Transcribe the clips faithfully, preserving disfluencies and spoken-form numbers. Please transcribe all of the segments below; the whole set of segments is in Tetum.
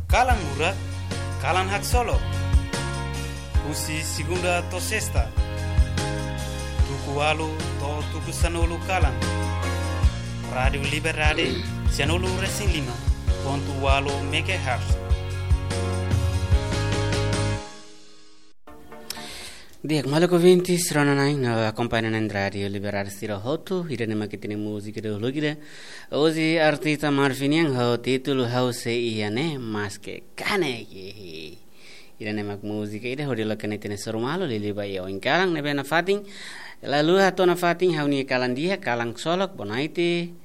Kalan Murak, kalan haksolok. Husi segunda to'o sesta, tuku ualu to'o tuku sanulu kalan. Rádiu Liberdade, sianulu resin lima pontu ualu megahertz. Di'ak, maluk ouvintes, rona-na'in no akompaña na'in Rádiu Liberdade sira hotu, ida-ne'e mak ita-nia múzika dahuluk ida. Hosi artista Marvin nian ho títulu Ha'u Sei Iha Ne'e, Maske Kanek. Ida-ne'e mak múzika ida hodi loke ita-nia soru malu, liuliu ba iha oin kalan ne'ebé nafatin. Lalu hato'o nafatin ha'u-nia kalan di'ak, kalan solok, boa noite.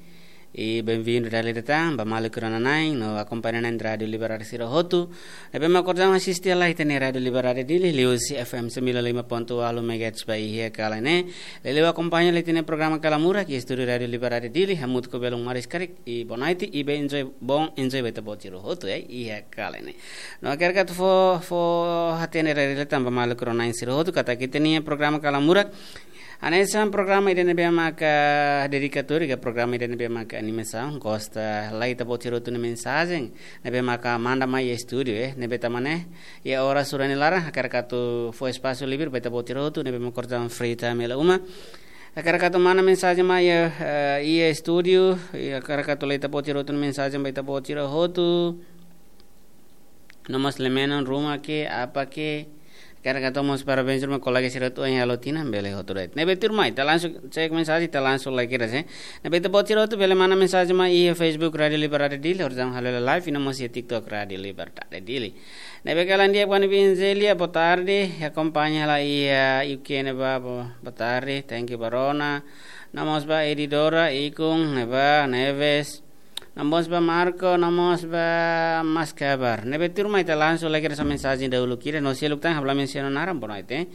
I benvindu dala ida tan ba maluk rona-na'in no akompaña na'in Rádiu Liberdade sira hotu ne'ebé mak orsida asiste lai ita-nia Rádiu Liberdade Dili, liuhusi F M sembilan lima pontu ualu megahertz ba iha kalan ne'e. Liuliu akompaña lai ita-nia programa Kalan Murak iha estúdiu Rádiu Liberdade Dili, hamutuk ho belun maris karik, i boa noite, i bem enjoy, bom enjoy ba ita-boot sira hotu, eh, iha kalan ne'e. No hakarak atu fó, fó hatene dala ida tan ba maluk rona-na'in sira hotu katak ita-nia programa Kalan Murak hanesan programa ida ne'ebé maka dedikatóriu, ka programa ida ne'ebé maka animasaun, gosta lai ita-boot sira hotu nia mensajen ne'ebé maka manda mai iha estúdiu, eh, ne'ebé tanba ne'e iha oras ohin ne'e laran hakarak atu fó espasu livre ba ita-boot sira hotu ne'ebé maka orsida free time hela uma. Hakarak atu manda mensajen mai iha, eh, iha estúdiu, i hakarak atu lee ita-boot sira hotu nia mensajen ba ita-boot sira hotu. No mós lee menon ruma ke, apa ke. Hakarak atu mós parabéns ruma kolega sira hotu ohin halo tinan, bele hotu de'it. Ne'ebé tuirmai, ita langsung cek mensajen, ita langsung lai kedas, eh. Ne'ebé ita-boot sira hotu bele manda mensajen mai iha Facebook Rádiu Liberdade Dili, orsida halo hela live, i no mós iha TikTok Rádiu Liberdade Dili. Ne'ebé kalan di'ak ba Nibi Enzelia, boa tarde, akompaña hela iha U K ne'ebá, bo-, boa tarde, thank you ba rona. No mós ba Edidora, Ikun, ne'ebá, Neves. No mós ba Marco, no mós ba Maskabar. Ne'ebé tuirmai ita langsung lai kedas mensajen dahuluk ida, no seluk tan ha'u la mensiona naran, boa noite.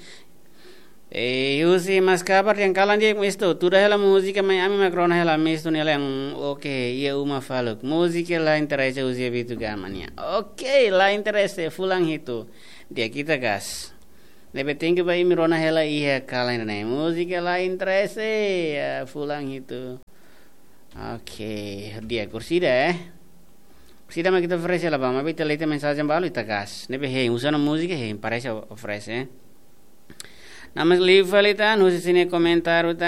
Eh, husi Maskabar, dehan kalan di'ak Mistu, tuda hela múzika mai ami mak rona hela Mistu nia lean, oke, iha uma faluk. Múzika la interese husi Abitu Gama nian. Oke, la interese, fulan hitu. Di'ak, ita gas. Ne'ebé thank you ba imi rona hela iha kalan ne'e. Múzika la interese, ya, fulan hitu. Oke, di'ak, orsida, eh. Orsida mak ita oferese hela ba, maibé ita lee ita-nia mensajen balu, ita gas. Ne'ebé hein, uza ona múzika hein, parese oferese, eh. No mós liu fali tan, husi sira-nia komentáriu tan.